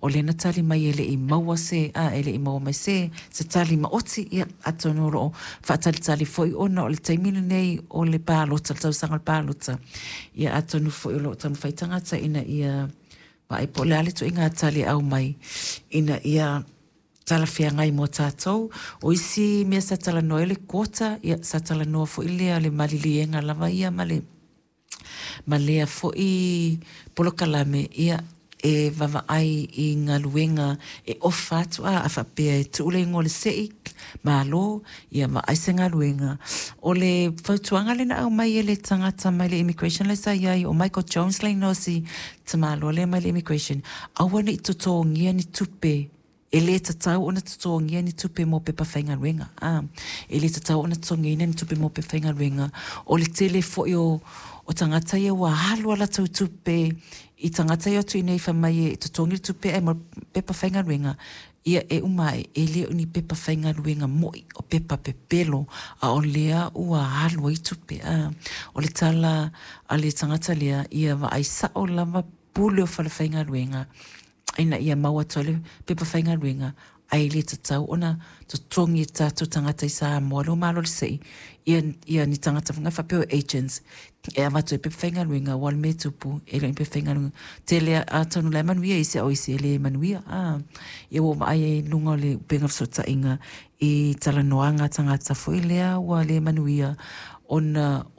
O lea na tali mai e le i maua se, a, e le i maua mai se, se tali maoti. Ia, atonu o lo o faatalitali foi ona o le taimi lenei o le palota, le tausaga o le palota. Ia, atonu foi o lo o taumafai tagata ina ia vaai po o le a le ituaiga tali e aumai ina ia talafeagai mo tatou. O isi mea sa talanoa ai o le quota, ia sa talanoa foi lea o le maliliega lava ia ma le ma lea foi polokalame, ia, e vaavaai i galuega e ofa atu, a faapea e tuu le igoa o le se'i, malo, ia vaai se galuega. O le fautuaga lea na aumai e le tagata mai le immigration lea sa i ai, o Michael Jones le igoa o si tamaloa lea mai le immigration, aua ne i totogia ni tupe. E le tatau ona totogia ni tupe mo pepa faigaluega. A, e le tatau ona totogiina ni tupe mo pepa faigaluega. O le tele foi o, o tagata ia ua alu a latou tupe i tagata ia atu i inei fai mai e totogi le tupe ae mo pepa faigaluega, ia e uma ae e le o ni pepa faigaluega moi, o pepa pepelo, a o lea ua alu ai tupe. A, o le tala a le tagata lea, ia vaai sao lava pule o falefaigaluega ina ia maua atu ai le pepa faigaluega, ae le tatau ona totogi e tatou tagata i Samoa lea ua malo le se'i ia, ia ni tagata foi faapea o agents e avatu ai pepa faigaluega, aua o le mea e tupu e le o ni pepa faigaluega tele, atonu la e manuia isi a o isi e le manuia. A, ia ua ou vaai ai i luga o le upega fesootaiga i talanoaga a tagata foi lea ua le manuia ona.